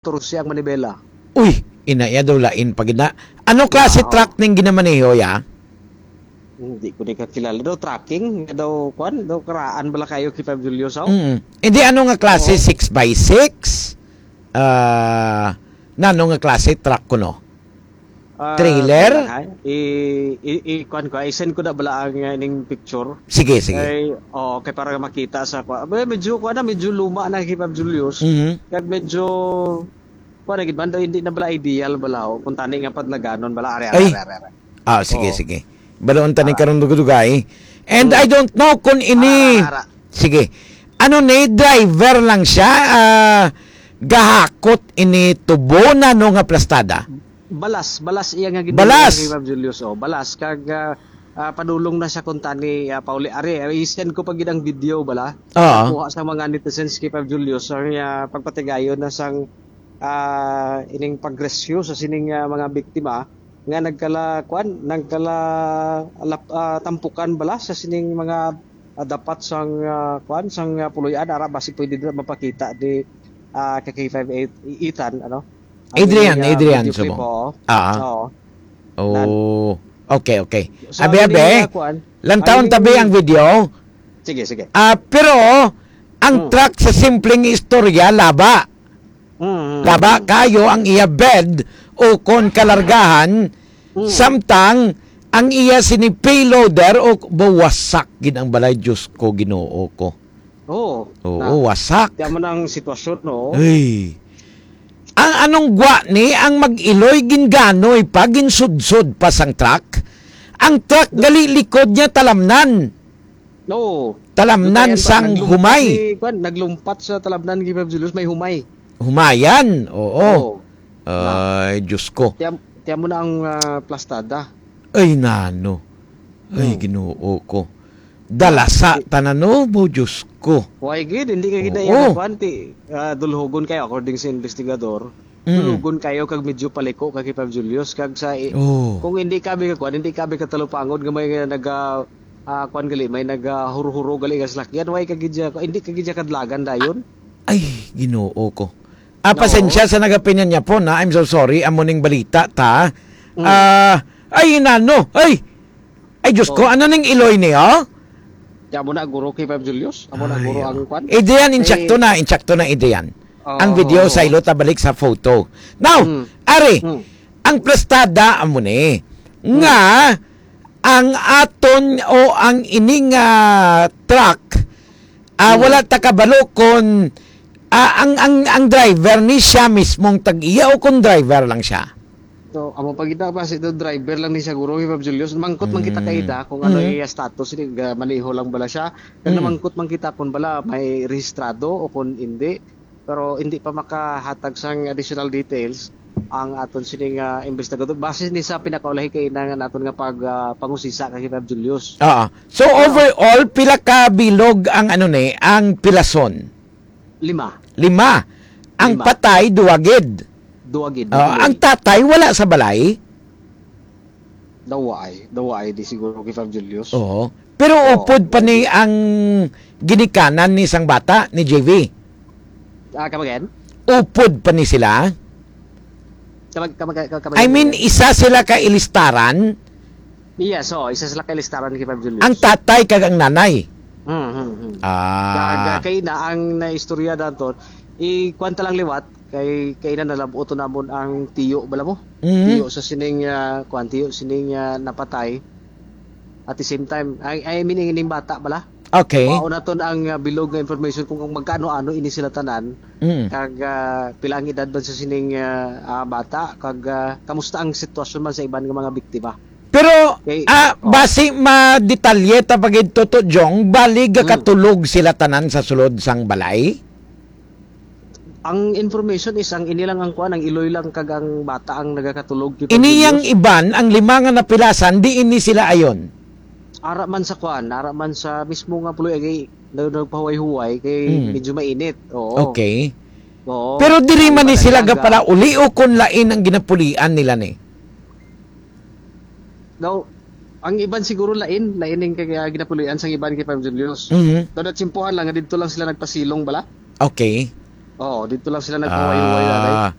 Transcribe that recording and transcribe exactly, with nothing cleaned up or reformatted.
katorse ang manibela. Uy, ina iya daw lain pa gid na. Ano klase Wow. truck ning ginamaneho ya? Hindi ko ni kakilala. Daw trucking, daw, kwan, daw karaan bala kayo kay Five Julius, oh? Mm. Hindi, ano nga klase? Oo. Six by six? Ah, nano nga klase truck kuno? Ah, Trailer? Kailan, ha? I, i, i, kwan ko, i-send ko na bala ang, uh, ning picture. Sige, sige. Kay, oh, kay para makita sa, kwa-, me-, medyo, kwan na, medyo luma na kay Five Julius. Mhm. Kag medyo, kwan na gid man, daw hindi na bala ideal bala, oh, kung tani nga padlaganon bala, are, are, Ay. are, are, are. Ah, sige, Oh. sige. Balaon tani Ah. karong dugay-dugay. And Hmm. I don't know kung ini, Ara, ara, ara. sige. Ano ni, driver lang siya, ah, gahakot ini tubo na no nga plastada? Balas, balas iya nga ginbulian Balas. kay Ma'am Julius, oh. Balas, kag, ah, ah, padulong na siya kung tani, ah, pauli. Ari, ah, i-send ko pa gid ang video bala. Oo. Nakuha sa mga netizens kay Ma'am Julius, ang, ah, pagpatigayon na sang, ah, ining pagrescue sa sining, ah, mga biktima nga nagkala, kwan, nagkala lap-, ah, tampukan bala sa sining mga, ah, dapat sang, ah, kwan, sang, ah, puloy-an, ara, basi pwede dira mapakita ni, ah, ka K five eight, i-, Ethan, ano? Ang Adrian, ining, ah, Adrian, video clip, sumo. Oo. Ah. Oo. Nan. Oh. Okay, okay. So, Abi, ang abi, ining, ah, kwan, ang lantawon ining tabi ang video. Sige, sige. Ah, pero ang Hmm. truck sa simpleng istorya, laba. Hmm. Laba kayo ang iya bed o kon kalargahan, Hmm. samtang ang iya sini payloader o bawasak gid ang balay, Diyos ko, Ginoo ko. Oo. Oo, Na, wasak. Kaya mo na ang sitwasyon, no? Ay. Ang anong gwa ni ang mag-iloy ginganoy pa, ginsudsod pa sang truck? Ang truck gali likod niya talamnan. Oo. Talamnan Lutayan ba? sang Naglumpat humay. si, kwan, naglumpat sa talamnan kay Ma'am Julius, may humay. Humayan, oo. Oo. Ay, Diyos ko. Tiyan, tiyan mo na ang, ah, plastada. Ay, nano. Ay, Hmm. Ginoo ko. Dalasa Di- tanan, no, bo, Diyos ko. Why gid? Hindi ka gid Oo. na iya, kwan, ti, ah, dulhogon kayo, according sa investigador. Mm. Dulhogon kayo kag medyo paliko ka kay Pab Julius. Kag sa i-, Oo. kung hindi ka bi ka kwan, hindi ka bi ka talupangod nga may, ah, nag, ah, ah, kwan gali, may nag, ah, huro-huro gali nga salakyan, why ka gid siya, hindi ka gid siya kadlagan dayon? Ay, Ginoo ko. Ah, No. pasensya sa nagapinyan niya po na. I'm so sorry. Amo ning balita ta. Mm. Ah, ay, nano. Ay! Ay, Diyos ko, Oh. ano ning iloy niya? Diyan mo na, guro, kay Pab Julius. Amo na, Ay, guro, oh. ang kwan. Adrian, Eh, insakto na, insakto na, Adrian. Oo, Ang video, oo, sa oo. ilo ta balik sa photo. Now, Mm. ari, Mm. ang plastada, amo ni, Mm. nga, ang aton o ang ining, ah, truck, ah, Mm. wala ta kabalo kon, ah, ang, ang, ang driver ni siya mismong tag-iya o kon driver lang siya? So, amo pa kita, basi daw driver lang ni siya, guro, kay Pab Julius. Mangkot man kita kay Mm. ida kung ano Mm. iya status, ni, ga-, maneho lang bala siya. Kag Mm. namangkot man kita kung bala may rehistrado o kung hindi. Pero hindi pa makahatag sang additional details ang aton sining, ah, investigador. Base ni sa pinakaulahi kay ina nga naton nga pag, ah, pangusisa kay Pab Julius. Oo. So, Ano? overall, pila ka bilog ang, ano ni, ang pilason? Lima. Lima. Ang Lima. patay, duwa gid. Duwa gid, Oo, duwa ang gid. tatay wala sa balay? Dawa ay. Dawa ay di siguro kay Pab Julius. Oo. Pero Oo, upod pa duwa ni gid. ang ginikanan ni sang bata, ni J V? Ah, come again? Upod pa ni sila? Kamag-, kamag-, kamag-, I mean, isa sila ka ilistaran? Yes, oo, isa sila ka ilistaran kay Pab Julius. Ang tatay kag ang nanay? Hmm, hmm, hmm. Ah. Kag, ah, kay na ang naistorya naton, i-, kwan ta lang liwat, kay, kay na nalab-ot namon ang tiyo bala mo. Mhm. Tiyo sa sining, ah, kwan, tiyo sining, ah, napatay. At the same time, I, I mean, ining bata bala. Okay. Mao naton ang, ah, bilog nga information kung, kung magkaano-ano ini sila tanan. Mm. Kag, ah, pila ang edad man sa sining, ah, ah, bata, kag, ah, kamusta ang sitwasyon man sa iban nga mga biktima. Pero, Okay. ah, Oh. basi madetalye ta pa gid, Toto Jong, bali Mm. gakatulog sila tanan sa sulod sang balay? Ang information is ang ini lang ang kuan, ang iloy lang kag ang bata ang nagakatulog kay Ini yang Pablo. Iban, ang lima nga napilasan, di ini sila ayon? Ara man sa kuan, ara man sa mismo nga puloy, agi, na, nagpahuway-huway kay Mm. medyo mainit. Oo. Okay. Oo. Pero diri Ang man ni iba sila naglaga. gapalauli o kung lain ang ginapulian nila ni? Daw, ang iban siguro lain, lain ning kay, ah, ginapulian sang iban kay Pam Julius. Mhm. Daw natsimpuhan lang nga didto lang sila nagpasilong bala. Okay. Oo, dito lang sila nagpahuway-huway, Tatay. Ah,